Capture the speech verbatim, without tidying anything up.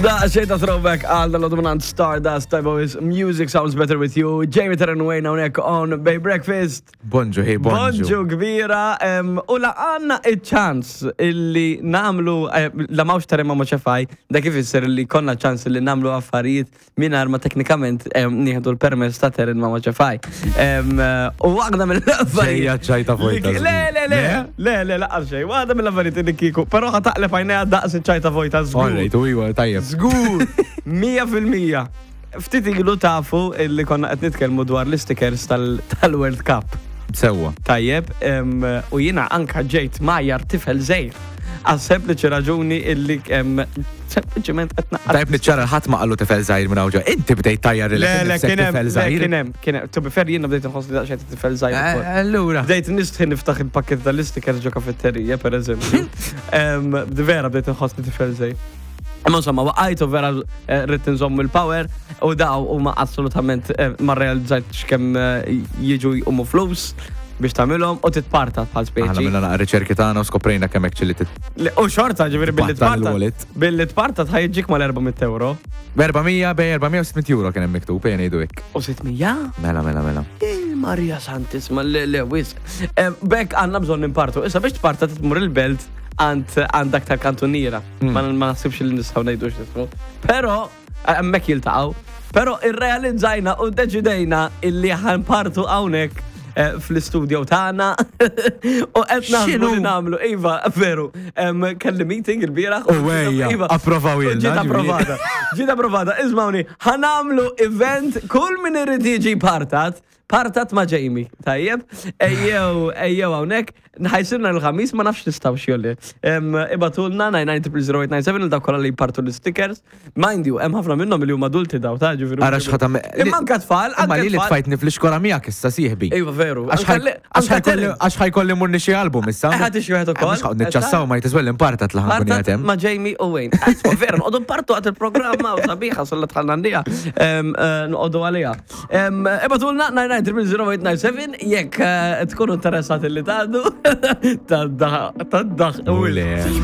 Da xejn ta' throwback għal dal-dominant Stardust Type of Music Sounds Better With You. Jamie Terran Wayne hawnhekk on Bay Breakfast. Bonġu, hey, bonġu. Bonġu kbira. em, U la għandna iċ-ċans illi nagħmlu, eh, la m'hawnx Terran ma ċefaj, dak ifisser illi konna ċans illi nagħmlu affarijiet mingħajr ma teknikament em, nieħdu l-permess ta' Terran ma ċefaj. Em, eh, U waħda mill-affarijiet. Ġejja ċajta vojta. Le, le, le, le, le, laqas xejn. Waħda mill-affarijiet illi kieku, però ħa taqleb għajnejha daqs iċ-ċajta vojta żgur. Alright, u iwa, tajjeb. Żgur, mija fil-mija. Ftit ilu tafu illi konna qed nitkellmu dwar l-stickers tal- tal-World Cup. Sewwa. Tajjeb, em, u jiena anka ġejt mgħajjar tifel żgħir. Għal sempliċi raġuni illi em, sempliċiment qed naqra. Tajb niċċara, ħadd ma qallu tifel żgħir minn hawn. Inti bdejt tgħajjar Le, le, kien hemm, tifel le, żgħir. kien hemm, kien hemm. To be fair, jiena bdejt inħossni daqsxejn tifel żgħir ukoll. Eh, Allura. Bdejt nistħi niftaħ il-pakket tal-stickers ġo kafetterija, per eżempju. Em, Vera bdejt nħossni tifel żgħir. Imma insomma, waqajtu vera eh, rrid nżomm il-power u daw huma assolutament eh, ma realizzajtx kemm eh, jiġu jqumu flus biex tagħmilhom u titparta bħal Aħna speċi. minna naqra riċerki tagħna u skoprejna kemm hekk ċilli tit. Le, u xorta ġifieri billi Tbattal tparta. il-wallet. Billi tparta tħajġik mal-erba' mitt euro. erba' mija bej erba' mija u sitt mitt euro kien hemm miktub, ejja ngħidu hekk. U sitt mija? Mela, mela, mela. Il-Maria Santissima, le, le, wisq. Eh, Bekk għandna bżonn nimpartu. Issa biex tparta tmur il-belt għand għandak tal-kantuniera. Mm. Ma ma naħsibx li nistgħu ngħidu x'ismu. Però eh, hemmhekk jiltaqgħu. Però irrealizzajna u deċidejna illi ħa npartu hawnhekk eh, fl-istudio tagħna u qed naħsbu X'inhu? li nagħmlu. Iva, veru. Em, Kelli meeting il-bieraħ. U ejja, Iva. approvaw U ilna, Ġiet ġifieri. approvata. Ġiet approvata. Ismawni, ħa nagħmlu event kull min irid jiġi partat, partat ma' Jamie, tajjeb? Ejjew, ejjew hawnhekk, ħa jsirna l-Ħamis, ma nafx nistgħu xjolli. Ibagħtulna nine nine zero zero eight nine seven il dawk kollha li jpartu l-stickers. Mind you, hemm ħafna minnhom li huma adulti daw, ta' ġifieri. Ara x'ħa tagħmel. Imma anka tfal, Imma anka li li tfal. tfajtni fl-iskola miegħek issa, sieħbi. Iva, veru. Għax Anka li- ħaj- għax anka ħa jkolli- Terence. għax ħa jkolli mmur nixtri album issa. Eh, ħa tixtri wieħed ukoll. Mhux ħa niċċassaw ma jtiswel impartat li ħa nkun Partat qiegħed hemm. ma' Jamie u Wayne. Isma' vera, noqogħdu npartu għat il-programma u sabiħa sulla tħallna għandija. Noqogħdu għalija. Ibagħtulna nine nine zero zero eight nine seven jekk eh, tkunu interessati li tgħaddu. Tad-daħ, tad-daħ. U le. Keep